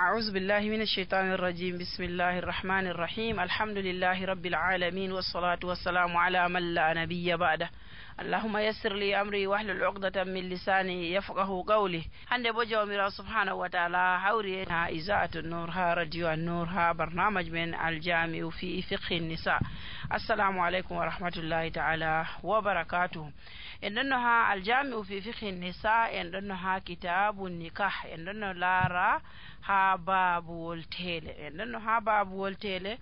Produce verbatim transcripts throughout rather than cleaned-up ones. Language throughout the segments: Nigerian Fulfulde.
أعوذ بالله من الشيطان الرجيم بسم الله الرحمن الرحيم الحمد لله رب العالمين والصلاة والسلام على من لا نبي بعده اللهم يسر لي أمري واحلل عقدة من لساني يفقه قولي hande bo jawmirawo subhanahu wa ta'ala hawri ha izaatu nur ha radio nur ha barnamaj men aljami'u fi fiqhi nisa. Assalamu alaikum wa rahmatullahi ta'ala wa barakatuh. En donno ha aljami'u fi fiqhi nisa, en donno ha kitabun nikah, en donno lara ha babuwol tele, en donno ha babuwol tele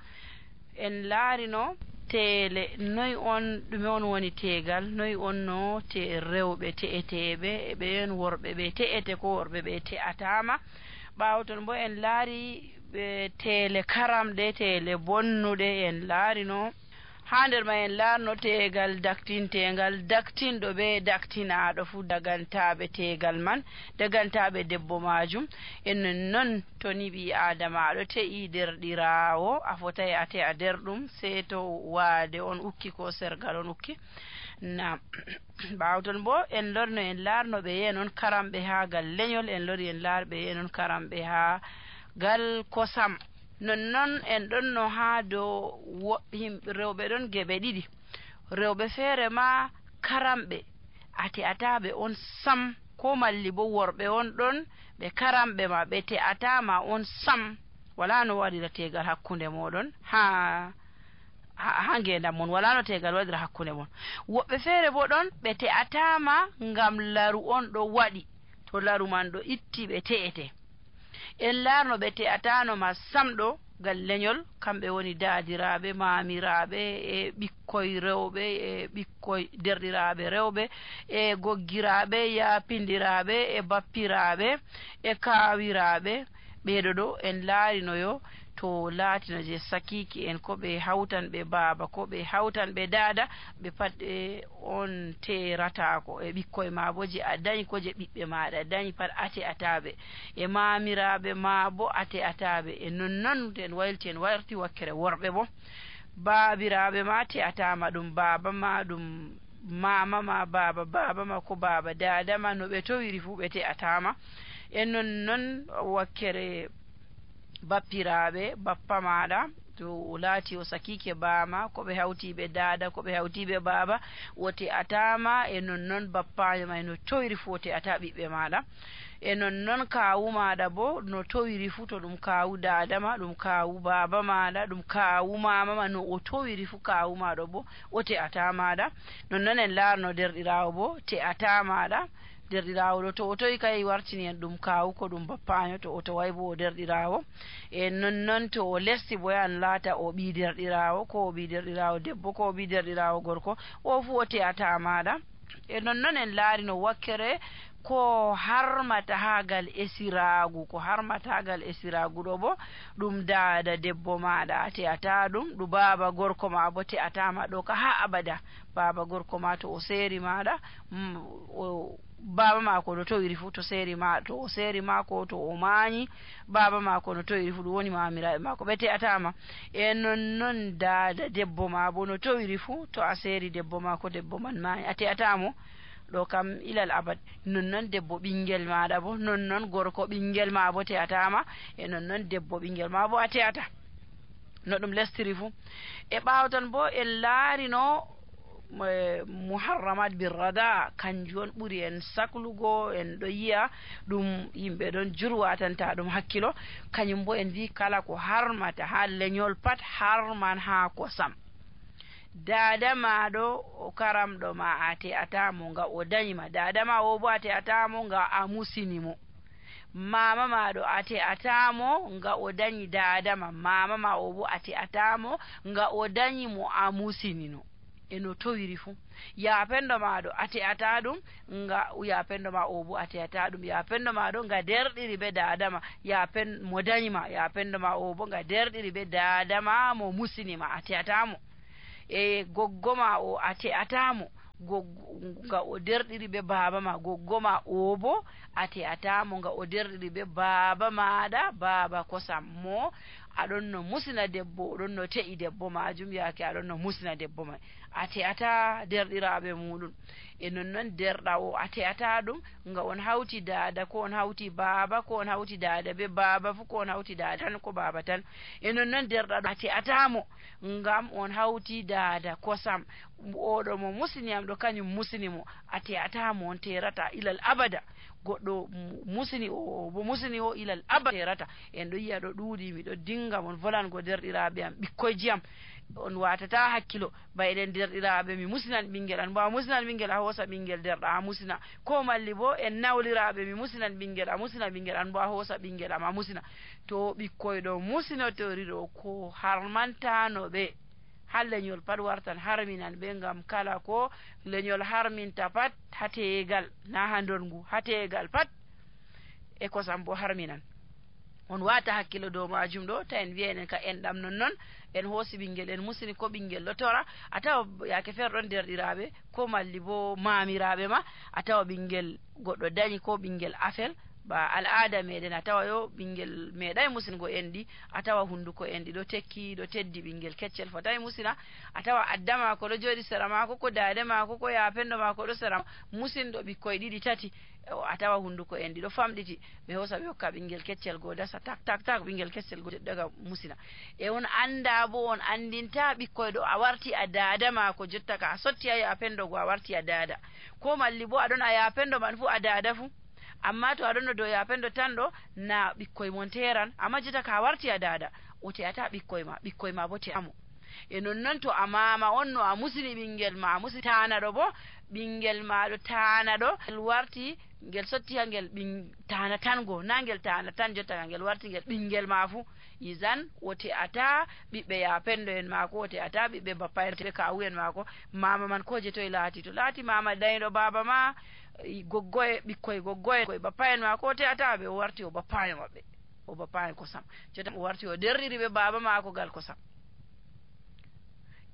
en laarino tele noy on ɗume on woni tegal, noy on no te rewɓe te'eteɓe ɓe en worɓe ɓe te'ete ko worɓe ɓe te'atama. ɓawo ton bo en laari ɓe tele karamɗe tele bonnuɗe en laarino ha nder ma en laarno tegal daktintegal daktinɗo ɓe daktinaɗo fu dagantaɓe tegal man dagantaɓe debbo majum. en non to ni ɓi adama aɗo te'i derɗirawo a fotai a te'a nder ɗum sey to waade on ukki ko sergal on ukki na ɓawo ton bo en lorno en laarno ɓe yenon karamɓe ha gal leñol, en lori en laarɓe yenon karamɓe ha gal kosam. nonnon en ɗonno ha dow himɓe rewɓe ɗon geɓe ɗiɗi, rewɓe feere ma karamɓe a te'ataɓe on sam, ko malli bo worɓe on ɗon ɓe karamɓe ma ɓe te'atama on sam, wala no waɗira tegal hakkunde moɗon ha ha ngendam mon, wala no tegal waɗira hakkunde mon. woɓɓe feere bo ɗon ɓe te'atama ngam laru on ɗo waɗi, to laru man ɗo itti ɓe te'ete. en laarno ɓe te'atano ma sam ɗo gal leñol, kamɓe woni daadiraɓe, mamiraɓe, e ɓikkoy rewɓe, e ɓikkoy derɗiraɓe rewɓe, e goggiraɓe, yapindiraɓe, e bappiraɓe, e kawiraɓe. ɓeɗo ɗo en laarinoyo to laatino je sakiki en, ko ɓe hawtan ɓe baaba, ko ɓe hawtan ɓe daada, ɓe pat e on teratako e ɓikkoy ma bo je a dañi ko je ɓiɓɓe maɗa dañi pat ate ataɓe, e mamiraɓe ma bo ate ataɓe. e nonnon en waylti en warti wakkere worɓe bo baabiraɓe ma te atama, ɗum baaba ma, ɗum mama ma, baba baba ma, ko baba dada ma, no ɓe towiri fu ɓe te atama. e nonnon wakkere bappiraɓe, bappa maɗa to laati o sakike bama, ko ɓe hawti ɓe dada, ko ɓe hawti ɓe baba, wote atama. e nonnon bappajo ma no towiri fu wote ata ɓiɓɓe maɗa. e nonnon kawu maɗa bo no towiri fu, to ɗum kawu dada ma, ɗum kawu baba maɗa, ɗum kawu mama ma, no o towiri fu kawu maɗa bo wote ata maɗa. nonnon en laarno derɗirawo bo te ata maɗa. derɗirawo ɗo to o towi kay wartini en ɗum kawu ko ɗum bappaño, to o toway bo o derɗirawo. e nonnon to o lesti bo yan laata o ɓi derɗirawo, ko o ɓi derɗirawo debbo, ko o ɓi derɗirawo gorko, o fu o te'ata maɗa. e nonnon en laarino wakkere ko harmata hagal esiragu, ko harmata hagal esiragu ɗo bo ɗum daada debbo maɗa a te'ata ɗum, ɗum baba gorko ma bo te'atama ɗo ka ha abada. baba gorko ma to o seeri maɗa, mm, o baba mako no towiri fu to seeri ma, to o seeri mako to o mañi, baba mako no towiri fu ɗum woni mamiraɓe mako ɓe te'atama. e nonnon daada debbo ma bo no towiri fu to a seeri debbo mako, debbo man mañi, a te'atamo ɗo kam ilal abad. nonnon debbo ɓinguel maɗa bo, nonnon gorko ɓinguel ma bo te'atama, e nonnon debbo ɓinguel ma bo a te'ata, no ɗum lestiri fu. e ɓawtan bo en laarino muharramat birrada, kanjum on ɓuri en saklugo, en ɗo yiya ɗum yimɓe ɗon jurwatanta ɗum hakkilo. kañum bo en vi kala ko harmata ha leñol pat harman ha kosam. dada maɗo o karamɗo ma a te'atamo nga o dañima, dada ma o bo a te'atamo nga a musinimo. mama maɗo a te'atamo nga o dañi dada ma, mama ma o bo a te'atamo nga o dañi mo a musinino. eno towiri fu. yapendo maɗo a te'ata ɗum nga yapendo ma o bo a te'ata ɗum, yapendo maɗo nga derɗiri be dadama, yapen mo dañima yapendo ma o bo nga derɗiri be dadama mo musinima, a te'atamo. e goggoma o a te'atamo nga o derɗiri be baba ma, goggoma o bo a te'atamo nga o derɗiri be baba maɗa, baba kosam mo aɗon no musina debbo oɗon no te'i debbo majum yaake aɗon no musina debbo mai a te'ata derɗiraɓe muɗum e nonnon derɗa o a te'ata ɗum nga on hawti dada ko on hawti baaba ko on hawti dada be baaba fu ko on hawti dada tan ko baaba tan e nonnon derɗa ɗo a te'atamo ngam on hawti dada kosam oɗo mo musiniyam ɗo kañum musini mo a te'atamo on terata ilal abada goɗɗo musini o bo musini o ilal abada terata en ɗo yiya ɗo ɗuuɗi miɗo dinga mon volango derɗiraɓe am ɓikkoyji am on watata hakkilo bayɗen derɗiraɓe mi musinan ɓinguel an bo a musinan ɓinguel a hoosa ɓinguel derɗa a musina ko malli bo en nawliraɓe mi musinan ɓinguel a musina ɓinguel an bo a hoosa ɓinguel am a musina to ɓikkoy ɗo musinotori ɗo ko harmantano ɓe ha leñol pat wartan harminan ɓe ngam kala ko leñol harminta pat ha tegal na ha ndongu ha tegal pat e kosam bo harminan on wata hakkilo dow majum ɗo ta en wiya enen ka enɗam nonnon en hoosi ɓinguel en musini ko ɓinguel ɗo tora a tawa yaake feere ɗon derɗiraɓe ko malli bo mamiraɓe ma a tawa ɓinguel goɗɗo dañi ko ɓinguel afel ba al'ada meɗen a tawa yo ɓinguel meeɗay musingo enɗi a tawa hunduko enɗi ɗo tekki ɗo teddi ɓinguel keccel fotayi musina a tawa adda mako ɗo joɗi sera mako ko dade mako ko yapendo mako ɗo sera musinɗo ɓikkoye ɗiɗi tati a tawa hunduko enɗi ɗo famɗiti ɓe hosa ɓe hokka ɓinguel keccel go dasa tak tak tak ɓinguel keccel go daga musina e on anda bo on andinta ɓikkoye ɗo a warti a dada mako jotta ka a sotti a yapendo go a warti a dada ko malli bo aɗon a yapendo man fu a dada fu amma to aɗon no dow yapendo tan ɗo na ɓikkoye mon teran amma jotta ka warti a dada o te'ata ɓikkoye ma ɓikkoye ma bo te'amo e nonnon to a mama on no a musini ɓinguel ma a musi tanaɗo bo ɓinguel ma ɗo tanaɗo ngel warti ngel sotti ha ngel ɓin tana tan go na ngel tana tan jotta ka ngel warti ngel ɓinguel ma fu isan o te'ata ɓiɓɓe yapendo en mako o te'ata ɓiɓɓe bappa en ɓe kawu en mako mama man ko je toye laati to laati mama dayɗo baba ma goggoye ɓikkoye goggoye koye bappa en mako o te'ata ɓe o warti o bappayo maɓɓe o bappayo kosam jotta o warti o derriri ɓe baba mako gal kosam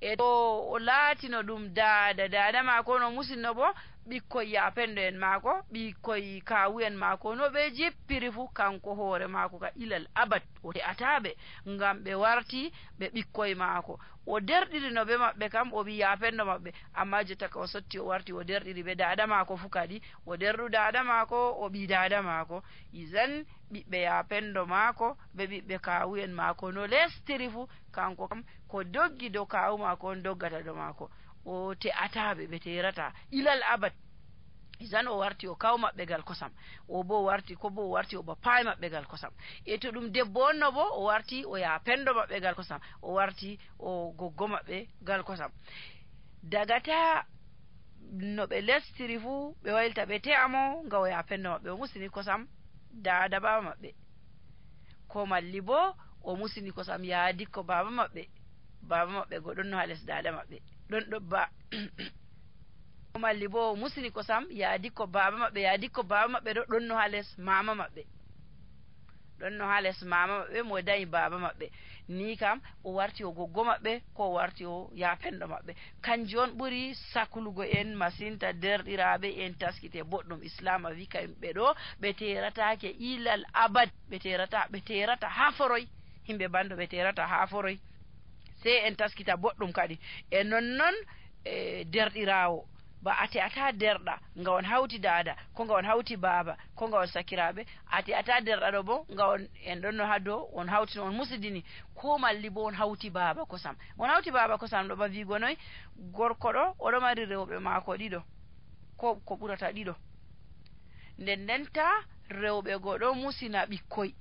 e to o laatino ɗum dada dada mako no musinno bo ɓikkoy yapendo en mako ɓikkoy kawu en mako no ɓe jippiri fu kanko hoore mako ka ilal abad o te'ataɓe ngam ɓe warti ɓe ɓikkoy mako o derɗirino ɓe maɓɓe kam o wi yapendo maɓɓe amma jotta ka o sotti o warti o derɗiri ɓe dada mako fu kadi o derɗu dada mako o ɓi dada mako isan ɓiɓɓe yapendo mako ɓe ɓiɓɓe kawu en mako no lestiri fu kanko kam ko doggi dow kawu mako on doggata do mako o te'ataɓe ɓe terata ilal abad isan o warti o kaw maɓɓe gal kosam o bo o warti ko bo o warti o bappayi maɓɓe gal kosam e to ɗum debbo on no bo o warti o yapendo maɓɓe gal kosam o warti o goggo maɓɓe gal kosam dagata no ɓe lestiri fu ɓe waylta ɓe te'amo nga o yapendo maɓɓe o musini kosam dada baba maɓɓe ko malli bo o musini kosam yaadi ko baba maɓɓe baba maɓɓe go ɗon no ha les dada maɓɓe ɗon ɗo ba malli bo musini kosam yaadi ko baba maɓɓe yaadi ko baba maɓɓe ɗo ɗon no ha les mama maɓɓe ɗon no ha les mama maɓɓe mo dañi baba maɓɓe ni kam o warti o goggo maɓɓe ko o warti o yapendo maɓɓe kanji on ɓuri saklugo en masinta derɗiraɓe en taskite boɗɗum islam a wi kamɓe ɗo ɓe teratake ilal abad ɓe terata ɓe terata ha foroy himɓe bando ɓe terata ha foroy sei en taskita boɗɗum kadi e nonnon e derɗirawo ba a te'ata derɗa nga on hawti dada ko nga on hawti baba ko nga on sakiraɓe a te'ata derɗa ɗo bo nga on en ɗon no ha dow on hawtino on musidini ko malli bo on hawti baba kosam on hawti baba kosam ɗo ba wigo noy gorko ɗo oɗo mari rewɓe maako ɗiɗo ko ko ɓurata ɗiɗo nden ndenta rewɓe go ɗo musina ɓikkoy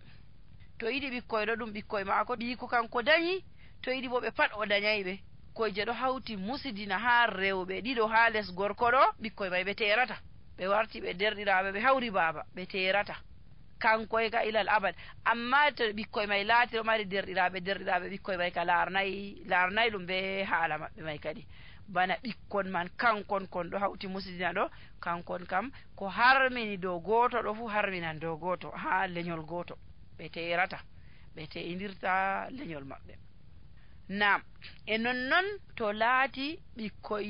to yiɗi ɓikkoy ɗo ɗum ɓikkoy maako ɓiiko kanko dañi to yiɗi bo ɓe pat o dañayɓe koyje ɗo hawti musidina ha rewɓe ɗiɗo ha les gorko ɗo ɓikkoy may ɓe terata ɓe warti ɓe derɗiraɓe ɓe hawri baba ɓe terata kankoy ka ilal abad amma to ɓikkoy may laati ɗo mari derɗiraɓe derɗiraɓe ɓikkoy may ka larnayi larnayi ɗum be haala maɓɓe may kadi bana ɓikkon man kankon kon ɗo hawti musidina ɗo kankon kam ko harmini dow goto ɗo fu harminan dow goto ha leñol goto ɓe terata ɓe te'indirta leñol maɓɓe nam e nonnon to laati ɓikkoy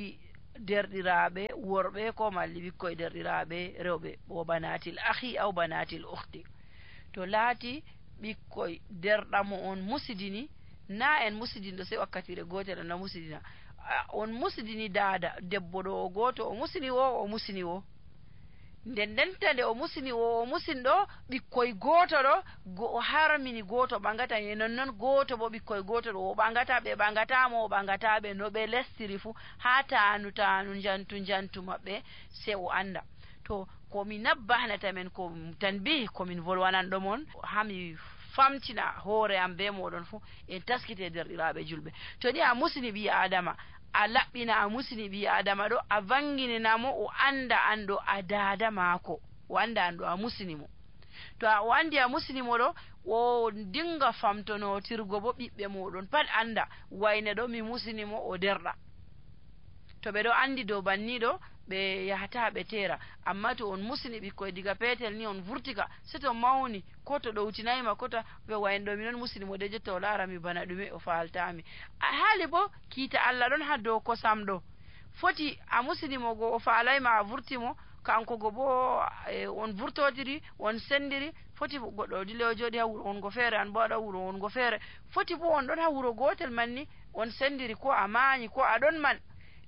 derɗiraɓe worɓe ko malli ɓikkoy derɗiraɓe rewɓe o banatil ahi aw banatil ukhti to laati ɓikkoy derɗamo on musidini na en musidinɗo sey wakkatire gotel na musidina on musidini dada debbo ɗo o goto o musini wo o musini wo nden ndenta nde o musini wo o musinɗo ɓikkoy goto ɗo go o harmini goto ɓangata e nonnoon goto bo ɓikkoy goto ɗo o ɓangata ɓe ɓangatamo o ɓangataɓe no ɓe lestiri fu ha tanu tanu jantu jantu maɓɓe se o anda to komi nabbahnata men ko tanbi komin volwananɗo mon hami famtina hoore am be moɗon fu en taskite derɗiraɓe julɓe to ni a musini ɓi adama a laɓɓina a musini ɓi adama ɗo a vangininamo o anda an ɗo a dada maako o anda an ɗo a musini mo to a o andi a musini mo ɗo o dinga famtonotirgo bo ɓiɓɓe moɗon pat anda wayne ɗo mi musini mo o derɗa to ɓe ɗo andi dow banniɗo ɓe yahata ɓe tera amma to on musini ɓikkoy diga petel ni on vurtika se to mawni ko to ɗowtinayima kota ɓe wayno ɗo minon musini mo de jotta o laarami bana ɗume o faltami a haali bo kiita Allah ɗon ha dow kosam ɗo foti a musinimo go o faalayma a vurtimo kanko go bo e, on vurtodiri on sendiri foti goɗɗo dile o jooɗi ha wuro on go feere an bo aɗa wuro on go feere foti bo on ɗon ha wuro gotel man ni on sendiri ko a maañi ko aɗon man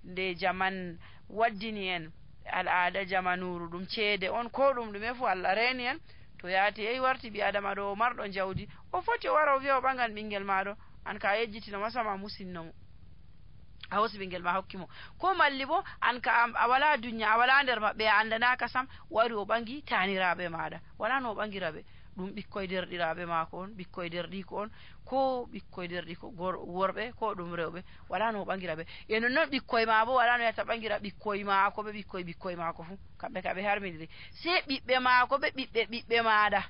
nde jaman waddini en al'ada jamanuru ɗum ceede on ko ɗum ɗume fu Allah reeni en to yaati yehi warti ɓi adama ɗo o marɗo jawdi o foti o wara o wiya o ɓangan ɓinguel maɗo an ka yejjitino masama musinnomo a hosi ɓinguel ma hokkimo ko malli bo an ka a wala dunya a wala nder maɓɓe a andanaka sam wari o ɓangi taniraɓe maɗa wala no o ɓangiraɓe ɗum ɓikkoy derɗiraɓe maako on ɓikkoy derɗiko on ko ɓikkoy derɗiko worɓe ko ɗum rewɓe wala no o ɓangiraɓe e nonnoon ɓikkoy ma bo wala no yata ɓangira ɓikkoy maako ɓe ɓikkoy ɓikkoy maako fu kamɓe ka ɓe harmidiri se ɓiɓɓe maako ɓe ɓiɓɓe ɓiɓɓe maɗa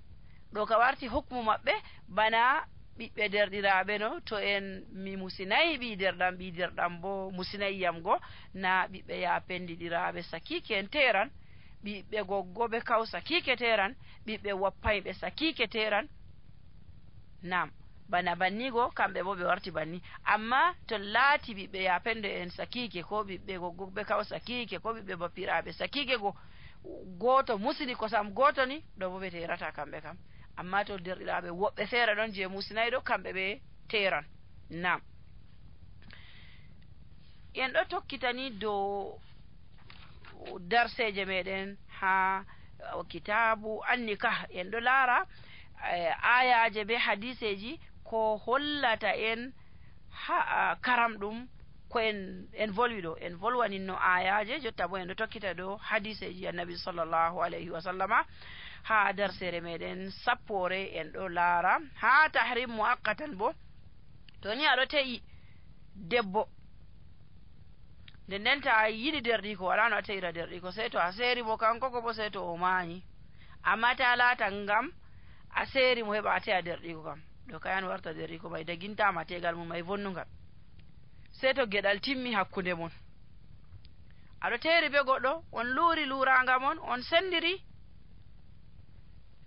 ɗo ka warti hukmu maɓɓe bana ɓiɓɓe derɗiraɓe no to en mi musinayi ɓi derɗam ɓi derɗam bo musinayiyam go na ɓiɓɓe ya pendiɗiraɓe sakiki en teran ɓiɓɓe goggo ɓe kaw sakike teran ɓiɓɓe wappayɓe sakike teran nam bana bannigo kamɓe bo ɓe warti banni amma to laati ɓiɓɓe ya pende en sakike ko ɓiɓɓe goggo ɓe kaw sakike ko ɓiɓɓe bappiraɓe sakike go goto musini kosam goto ni ɗo bo ɓe terata kamɓe kam amma to derɗiraɓe woɓɓe feere ɗon je musinayi ɗo kamɓe ɓe teran nam en ɗo tokkitani dow darseje meɗen ha kitabu annikah en ɗo laara ayaje be hadiseji ko hollata en ha karam ɗum ko en en volwi ɗo en volwaninno ayaje jotta bo en ɗo tokkita ɗo hadiseji annabi sallllahu alayhi wa sallama ha darsere meɗen sappore en ɗo laara ha tahrim muaqqatan bo to ni aɗo te'i debbo nden nden ta yiɗi derɗiko wala no a teyira derɗiko sey to a seeri mo kanko ko bo sey to o maañi amma ta laata ngam a seeri mo heɓa a teya derɗiko kam ɗo kayan warta derɗiko may dagintama tegal mum may vonnugal sey to geɗal timmi hakkunde mon aɗo teeri be goɗɗo on luuri luuranga mon on sendiri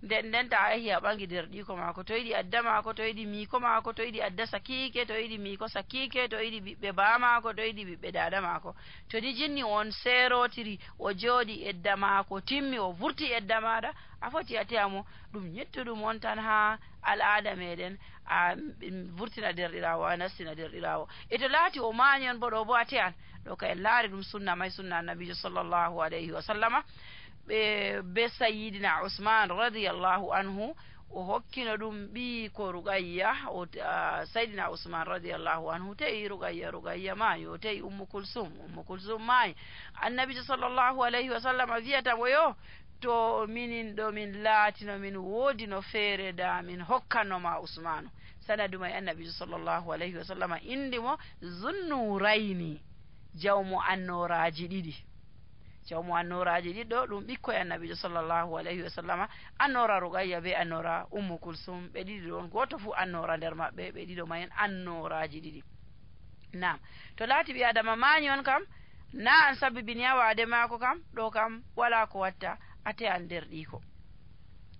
nden nden ta a yehi a ɓangi derɗiko maako to yiɗi adda maako to yiɗi miiko maako to yiɗi adda sakike to yiɗi miiko sakike to yiɗi ɓiɓɓe baa maako to yiɗi ɓiɓɓe dada maako to ni jinni on serotiri o jooɗi edda maako timmi o vurti edda maɗa a foti a teyamo ɗum ñettuɗum on tan ha al'ada meɗen a vurtina derɗirawo a nastina derɗirawo e to laati o maani on bo ɗo bo a teyan ɗo ka en laari ɗum sunna may sunna annabijo sallllahu alayhi wa sallama ɓe be sayidina usman radiallahu anhu o hokkino ɗum ɓi ko rugayya o sayidina usman radiallahu anhu teyi rugayya rugayya maayi o teyi ummu kulsum ummu kulsum maayi annabijo sallllahu alayhi wa sallam wiyatamo yo to minin ɗo min laatino min woodi no feere da min hokkannoma usmanu sanadu may annabijo sallllahu alayhi wa sallam indimo zunnurayni jawmo annoraji ɗiɗi jawmo annoraji ɗiɗɗo ɗum ɓikkoye annabijo sallllahu alayhi wa sallama annora rugayya be annora ummu kulsum ɓe ɗiɗi ɗon goto fuu annora nder maɓɓe ɓe ɗiɗo mayen annoraji ɗiɗi nam to laati ɓi adama mañi on kam na an sabibini ha waade maako kam ɗo kam wala ko watta ate an nder ɗiko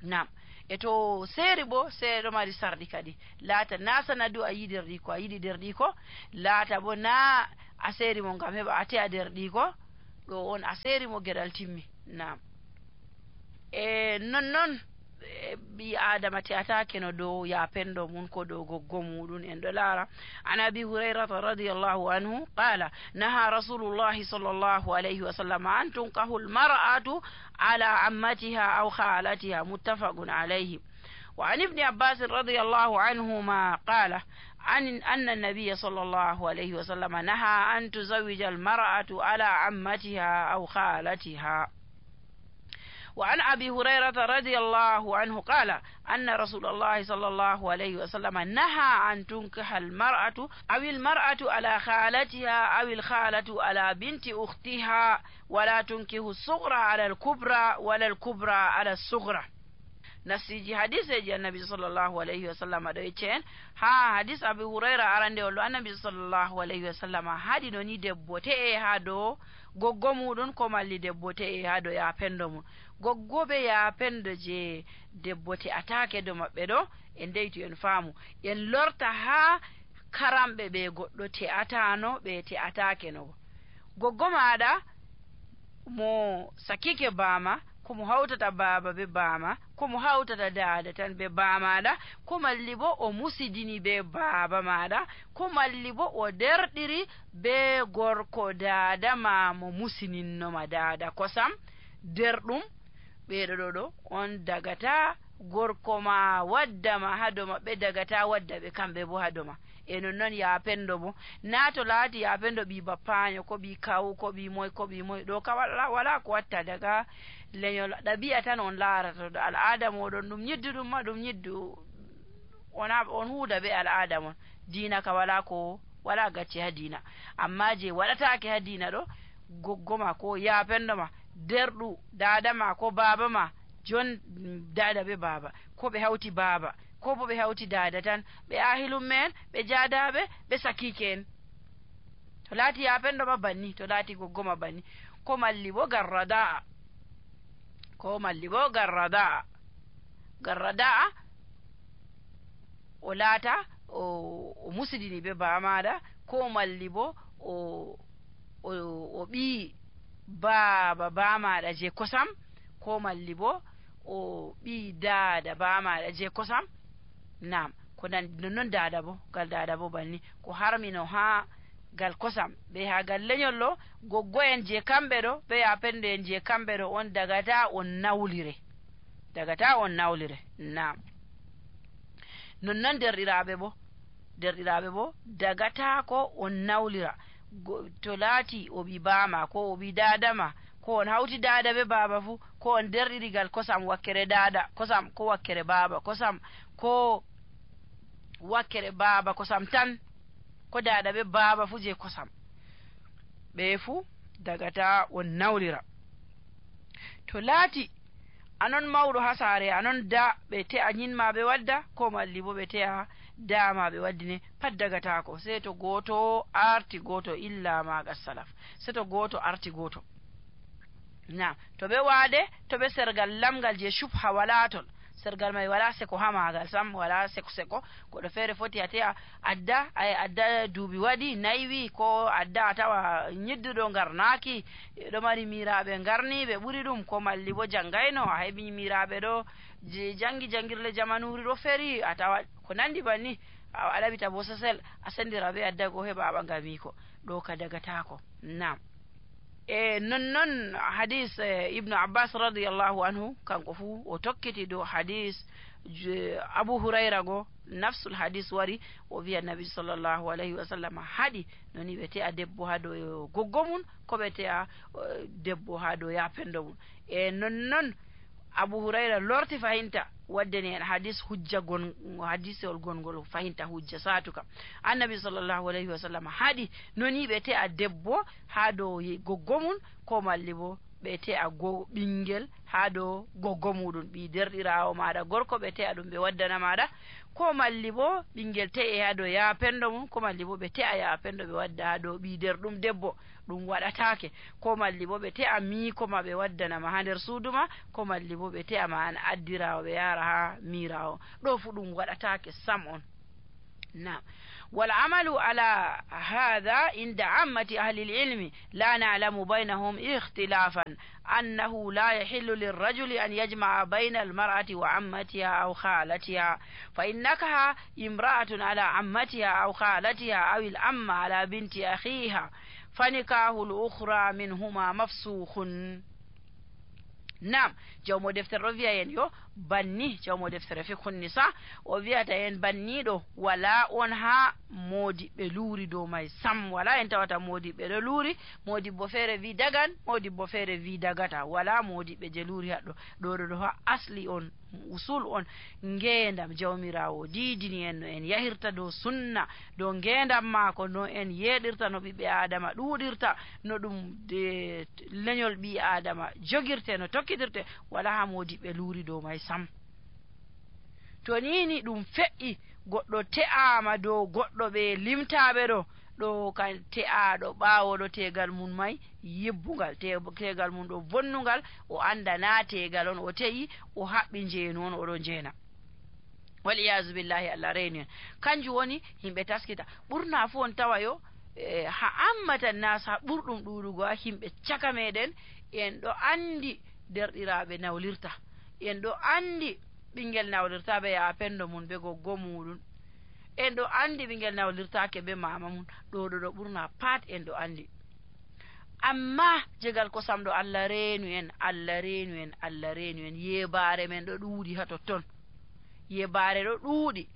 nam e to seeri bo seeɗo mari sarɗi kadi laata na sanadu a yi nder ɗiko a yiɗi nder ɗiko laata bo na a seeri mo ngam heɓa ate a nder ɗiko ɗo on a seeri mo geɗal timmi nam e nonnoon ɓi adama te'atake no dow yapendo mum ko dow goggo muɗum en ɗo laara. An abi hurairata radiallahu anhu qala naha rasulullahi sallllahu alayhi wa sallam an tunkahu lmar'atu ala ammatiha aw khalatiha muttafaqun alayhi. wa an ibni abbasin radiallahu anhuma qala أن أن النبي صلى الله عليه وسلم نهى أن تزوج المرأة على عمتها أو خالتها. وعن أبي هريرة رضي الله عنه قال أن رسول الله صلى الله عليه وسلم نهى أن تنكح المرأة أو المرأة على خالتها أو الخالة على بنت أختها ولا تنكح الصغرى على الكبرى ولا الكبرى على الصغرى. nasiji hadiseji annabi sallllahu alayhi wa sallam ɗo yeccen ha hadis abi hurayra arande ollo annabi sallllahu alayhi wa sallam haɗi no ni debbo te'e ha dow goggo muɗum ko malli debbo te'e ha dow yapendo mum. goggoɓe yapendo je debbo te'atake do maɓɓe ɗo en deytu en faamu en lorta ha karamɓe ɓe goɗɗo te'atano ɓe te'atake no. goggo maɗa mo sakike bama komo hawtata baaba be baama komo hawtata daada tan be baamaɗa ko malli bo o musidini be baaba maɗa ko malli bo o derɗiri be gorko daada ma mo musininoma daada kosam derɗum ɓeɗo ɗo ɗo on dagata gorko ma waddama hado maɓɓe dagata wadda ɓe kamɓe bo hado ma. e non noon yapendo bo na to laati yapendo ɓi bappaño ko ɓi kawu ko ɓi moy ko ɓi moy ɗo ka wala, wala ko watta daga leñol ɗabi'a tan on laarata ɗo al'ada moɗon ɗum ñiddu ɗum ma ɗum ñiddu ona on huuda be al'ada mon. diina ka wala ko wala gacce ha diina, amma je waɗatake ha diina ɗo goggo ma ko yapendo ma derɗu dada ma ko baba ma jon dada be baba ko ɓe hawti baba ko bo ɓe hawti dada tan ɓe ahilum men ɓe jadaɓe ɓe sakike en. to laati yapendo ma banni to laati goggo ma banni ko malli bo garrada'a ko malli bo garrada'a garrada'a o laata o, o musidini be bamaɗa ko malli bo o o, o ɓi baaba bamaɗa je kosam ko malli bo o ɓi daada bamaɗa je kosam. nam ko nan non daada bo gal daada bo banni ko harmino ha gal kosam ɓe ha gal leñol ɗo goggo en je kamɓe ɗo ɓe yapende en je kamɓe ɗo on dagata on nawlire dagata on nawlire. nam nonnon derɗiraɓe bo derɗiraɓe bo dagata ko on nawlira to laati o ɓi bama ko o ɓi dadama ko on hawti dada be baba fu ko on derɗirigal kosam wakkere dada kosam ko wakkere baba kosam ko wakkere baba kosam tan ko dada be baba fu je kosam ɓe fu dagata on nawlira. to laati anon mawɗo ha saare anon da ɓe te'a ñinma ɓe wadda ko malli bo ɓe te'a dama ɓe waddine pat dagatako sei to goto arti goto illa maga salaf sei to goto arti goto. na to ɓe waade to ɓe sergal lamgal je shubha wala ton sergal mai wala seko ha magal sam wala seko seko goɗɗo feere foti a te'a adda ay adda duuɓi waɗi naywi ko adda a tawa ñidduɗo ngarnaki ɗo mari miraɓe ngarni ɓe ɓuri ɗum ko malli bo janggayno a heɓi miraɓe ɗo je jangi jangirle jamanuri ɗo feri a tawa ko nandi banni a ɗaɓita bo sesel a sendira ɓe adda ko heɓa a ɓangamiko ɗo ka dagatako. nam e nonnon hadis eh, ibnu abbas radiallahu anhu kanko fu o tokkiti dow hadis abu hurayra go nafsul hadis wari o wiya nabi sallllahu alayhi wa sallam haɗi noni ɓe te'a debbo ha dow goggo mum ko ɓe te'a uh, debbo ha dow yapendo mum. e nonnon abu hurayra lorti fahinta waddani en hadis hujja gon hadisol gongol fahinta hujja satuka annabi sallllahu alayhi wa sallam haɗi noni ɓe te'a debbo ha dow goggo mum ko malli bo ɓe te'a go ɓinguel ha dow goggo muɗum ɓi derɗirawo maɗa gorko ɓe te'a ɗum ɓe waddana maɗa ko malli bo ɓinguel te'e ha dow yapendo mum ko malli bo ɓe te'a yapendo ɓe wadda ha dow ɓi derɗum debbo ɗum waɗatake ko malli bo ɓe te'a miiko ma ɓe waddanama ha nder suuduma ko malli bo ɓe te'a ma an addirawo ɓe yara ha mirawo ɗo fu ɗum waɗatake sam on. نعم. والعمل على هذا عند عامة أهل العلم لا نعلم بينهم اختلافا أنه لا يحل للرجل أن يجمع بين المرأة وعمتها أو خالتها، فإنكها امرأة على عمتها أو خالتها أو الأم على بنت أخيها فنكاه الأخرى منهما مفسوخ. nam jawmo deftere ɗo wiya en yo banni jawmo deftere fikhun nisa o wiyata en banniɗo wala on ha modi ɓe luuri dow may sam, wala en tawata modi ɓe ɗo luuri, modi bo feere wi dagan, modi bo feere wi dagata, wala modi ɓe je luuri haɗɗo. ɗo ɗo ha asli on usul on ngendam jawmirawo didini en no en yahirta dow sunna dow ngendam maako, no en yeɗirta no ɓiɓɓe adama ɗuɗirta, no ɗum de leñol ɓi adama jogirte, no tokkidirte, wala ha modi ɓe luuri dow may sam. to nini ɗum fe'i goɗɗo te'ama dow goɗɗo ɓe limtaɓe ɗo ɗo kan te'aɗo ɓawoɗo tegal mum may yibbungal, tegal mum ɗo bonnugal, o anda na tegal on o te'i, o haɓɓi jeenu on oɗo jeena, wal iyazu billahi, Allah reni en. kanjum woni himɓe taskita ɓurna fu on tawa yo e, ha ammatan nas ha ɓurɗum ɗuɗugo ha himɓe caka meɗen en ɗo andi derɗiraɓe nawlirta, en ɗo andi ɓingel nawlirtaɓe ya pendo mum be goggo muɗum, en ɗo andi ɓingel nawlirtake be mama mum, ɗo ɗo ɗo ɓurna pat en ɗo andi. amma jegal kosam ɗo Allah reenu en, Allah reenu en, Allah reenu en, yebare men ɗo ɗuuɗi ha totton, yebare ɗo ɗuuɗi,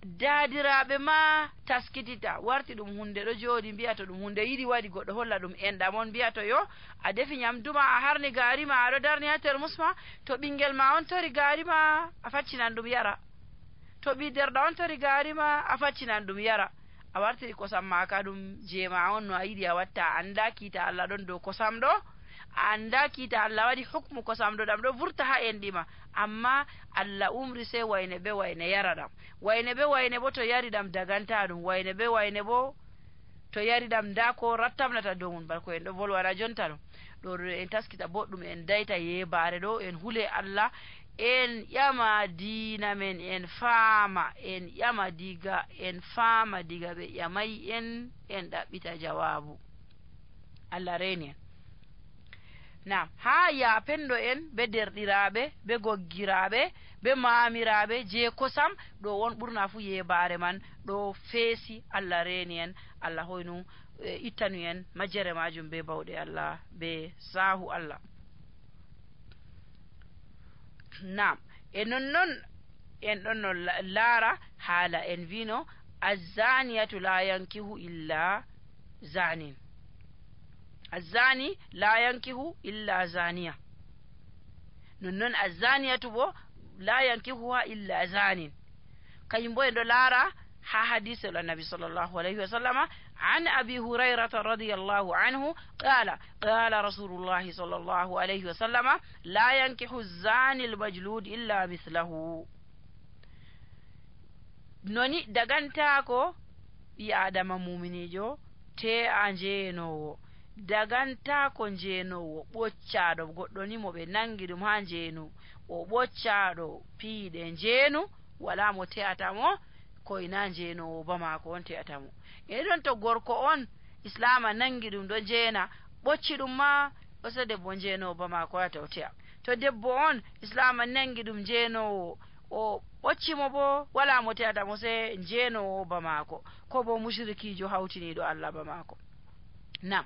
daadiraɓe ma taskitita, warti ɗum hunde ɗo jooɗi mbiya to ɗum hunde yiɗi waɗi goɗɗo holla ɗum enɗam on, mbiya to yo a defi nyamduma a harni gaari ma aɗo darni ha termus ma, to ɓingel ma on tori gaari ma a faccinan ɗum yara, to ɓi derɗa on tori gaari ma a faccinan ɗum yara, a wartiri kosam ma ka ɗum jema on no a yiɗi a watta, a anda kiita Allah ɗon dow kosam ɗo, a anda kiita Allah waɗi hukmu kosam ɗo ɗam ɗo vurta ha enɗima, amma Allah umri sai wayne be wayne yara ɗam, wayne be wayne bo to yari ɗam daganta ɗum, wayne be wayne bo to yari ɗam nda ko rattamnata dow mum, bako en ɗo volwana jonta ɗum ɗo ɗo en taskita boɗɗum en dayta yebare ɗo, en hule Allah, en ƴama diina men, en faama, en ƴama diga, en faama diga ɓe ƴamay en, en ɗaɓɓita jawabu. Allah reni en. nam ha ya pendo en be derɗiraɓe be goggiraɓe be mamiraɓe je kosam ɗo won ɓurna fu yebare man ɗo feesi. Allah reni en, Allah hoynu e, ittanu en majjere majum be bawɗe Allah be sahu Allah. nam e nonnon en ɗon no laara haala en wino azzaniyatu la yankihu illa zanin, azzani la yankihu illa zaniya, nonnon azzaniyatu bo la yankihuha illa zanin, kayum bo en ɗo laara ha hadise ol annabi sallallahu alayhi wa sallama an abi hurairata radiyallahu anhu qala qala rasulullahi sallallahu alayhi wa sallama la yankihu zani almajlud illa mithlahu. noni dagantako ɓi adama muminijo te a jeenowo, dagantako jeenowo ɓoccaɗo goɗɗo ni mo ɓe nangi ɗum ha jeenu o ɓoccaɗo piiɗe jeenu, wala mo te'atamo koyna jeenowo ba mako on te'atamo. e ɗon to gorko on islama nangi ɗum ɗo jeena ɓocci ɗum ma o so debbo jeenowo ba mako wata o te'a, to debbo on islama nangi ɗum jeenowo o ɓoccimo bo wala mo te'atamo se jeenowo ba mako, ko bo mushrikijo hawtiniɗo Allah ba mako. nam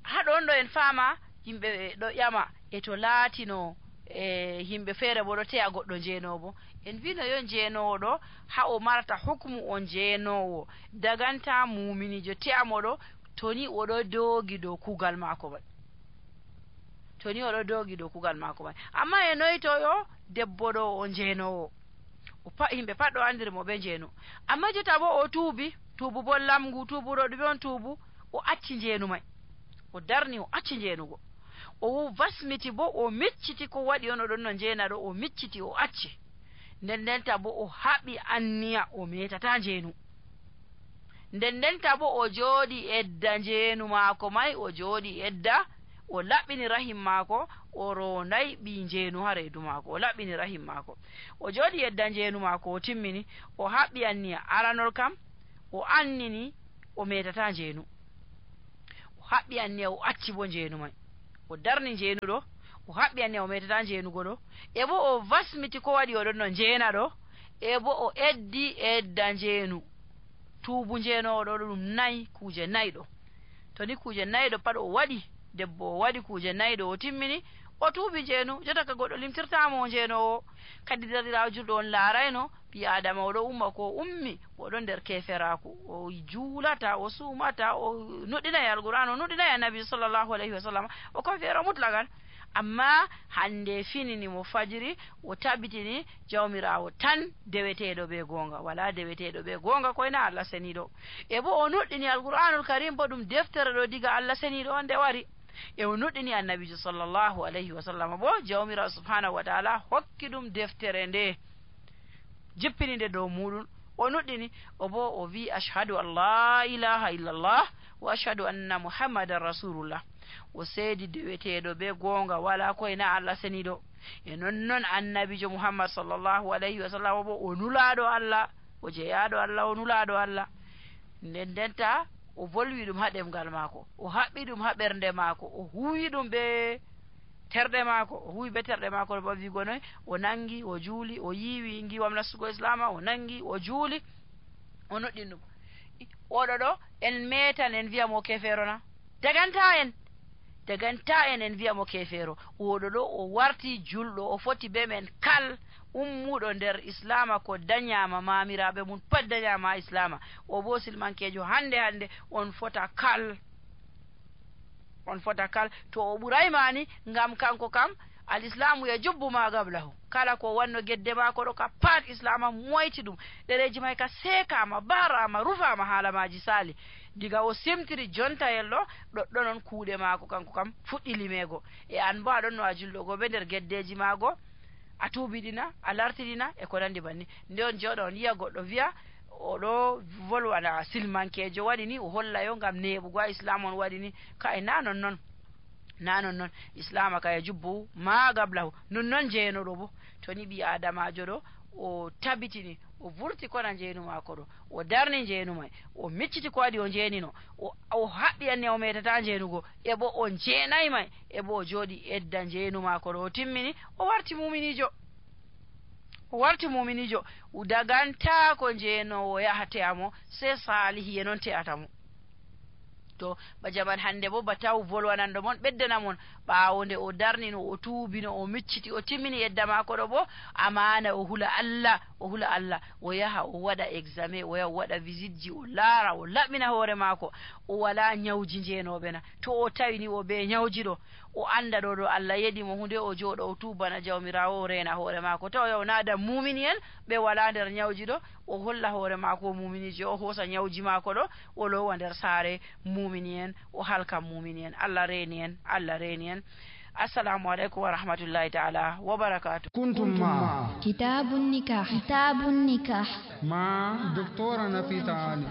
haɗon ɗo en faama yimɓe ɗo ƴama e to laatino e yimɓe feere bo ɗo te'a goɗɗo jeenowo, en wino yo jeenowo ɗo ha o marata hukmu on jeenowo daganta muminijo te'amo ɗo toni oɗo doogi dow kugal maako man, toni oɗo doogi dow kugal maako man. amma e noyi to yo debbo ɗo o jeenowo, o pa yimɓe pat ɗo andiri mo ɓe jeenu, amma jotta bo o tuubi tuubu bo lamgu, tuubuɗo ɗume on tuubu, o acci jeenu may, o darni o acci jeenugo, o vasmiti bo o micciti ko waɗi on oɗon no jeena ɗo, o micciti o acci, nden ndenta bo o haɓi anniya o metata jeenu, nden ndenta bo o jooɗi edda jeenu maako may, o jooɗi edda o laɓɓini rahim maako o ronday ɓi njeenu ha reedu maako o laɓɓini rahim maako o jooɗi yedda njeenu maako o timmini o haɓɓi anniya aranol kam o annini o metata njeenu o haɓɓi anniya o acci bo njeenu may o darni njeenu ɗo o haɓɓi anniya o metata njeenugo ɗo e bo o wasmiti ko waɗi oɗon no njeena ɗo e bo o eddi edda njeenu tuubu njeenowo ɗo ɗum nayi kuuje nayi ɗo to ni kuuje nayi ɗo pat o waɗi debbo o waɗi kuuje nayi ɗo o timmini o tuubi njeenu jotta ka goɗɗo limtirtamo o njeenowo kadi dadirawo julɗo on laarayno ɓi adama oɗo umma ko ummi oɗon nder keferaku o juulata o suumata o nuɗɗinayi alqur'an o nuɗɗinayi annabi sallllahu alayhi wa sallam o kafeero mutlagan amma hande finini mo fajiri o tabitini jawmirawo tan deweteɗo ɓe gonga wala deweteɗo ɓe gonga koyna Allah seniɗo e bo o nuɗɗini alqur'anul karim bo ɗum deftere ɗo diga Allah seniɗo on nde wari e o nuɗɗini annabijo sallllahu alayhi wa sallam bo jawmirawo subhanahu wa taala hokki ɗum deftere nde jippini nde dow muɗum o nuɗɗini o bo o wi ashhadu an la ilaha illallah wa ashhadu anna muhammadan rasulullah o seedi deweteɗo ɓe gonga wala koyna Allah seniɗo e nonnoon annabijo muhammad sallllahu alayhi wa sallam bo o nulaɗo Allah o jeeyaɗo Allah o nulaɗo Allah nden ndenta o volwi ɗum ha ɗemgal maako o haɓɓi ɗum ha ɓernde maako o huwi ɗum ɓe terɗe maako o huwi be terɗe maako ɗo wigo noy o nangi o juuli o yiiwi ngiwam nastugo islama o nangi o juuli o noɗɗin ɗum oɗo ɗo en metan en wiyamo kefeerona daganta en daganta en en wiyamo kefeero oɗo ɗo o warti julɗo o foti be men kal ummuɗo nder islama ko dañama mamiraɓe mum pat dañama islama o bo silmankejo hande hande on fota kal on fota kal to o ɓuraymani ngam kanko kam al islamu ya jubbu ma gablahu kala ko wanno gedde mako ɗo ka pat islama moyti ɗum ɗereji may ka sekama barama rufama haalamaji sali diga o simtiri jontayel ɗo ɗoɗɗo noon kuuɗe mako kanko kam fuɗɗi limego e an bo aɗon no a julɗo be nder geddeji mago a tuubiɗina a lartiɗina e ko nandi banni nde on jewɗo on yiya goɗɗo wiya oɗo volwana silmankejo waɗi ni o hollayo ngam neɓugo ha islam on waɗi ni ka e na non noon na non noon islama ka e jubbu ma gablahu non noon jeenoɗo bo to ni ɓi adamajo ɗo o tabitini o vurti kona njeenu mako ɗo o darni njeenu may o micciti ko waɗi o njeenino o haɓɓi anne o metata njeenugo e bo o jeenayi may e bo o jooɗi edda njeenu mako ɗo o timmini o warti muminijo o warti muminijo daganta ko njeenowo yaha te'amo se salihiye noon te'atamo to ba jaman hande bo ba taw volwanando mon ɓeddana mon ɓaawo nde o darnino o tuubino o micciti o timmini yedda maako ɗo bo amana o hula Allah o hula Allah o yaha o waɗa examen o yaha o waɗa visite ji o laara o laɓɓina hoore maako o wala nyawji njeenoɓe na to o tawini o be nyawji ɗo o anda ɗo ɗo Allah yeɗi mo hunde o jooɗo o tuubana jawmirawo o reena hoore maako taw yaw naada mumini en ɓe wala nder nyawji ɗo o holla hoore maako o muminiji o hoosa nyawji maako ɗo o lowa nder saare mumini en o halka mumini en Allah reeni en Allah reeni en assalamu aleykum wa rahmatullahi taala wa barakatuh kuntum ma kitabun nikah kitabun nikah ma doctora Nafisa Ali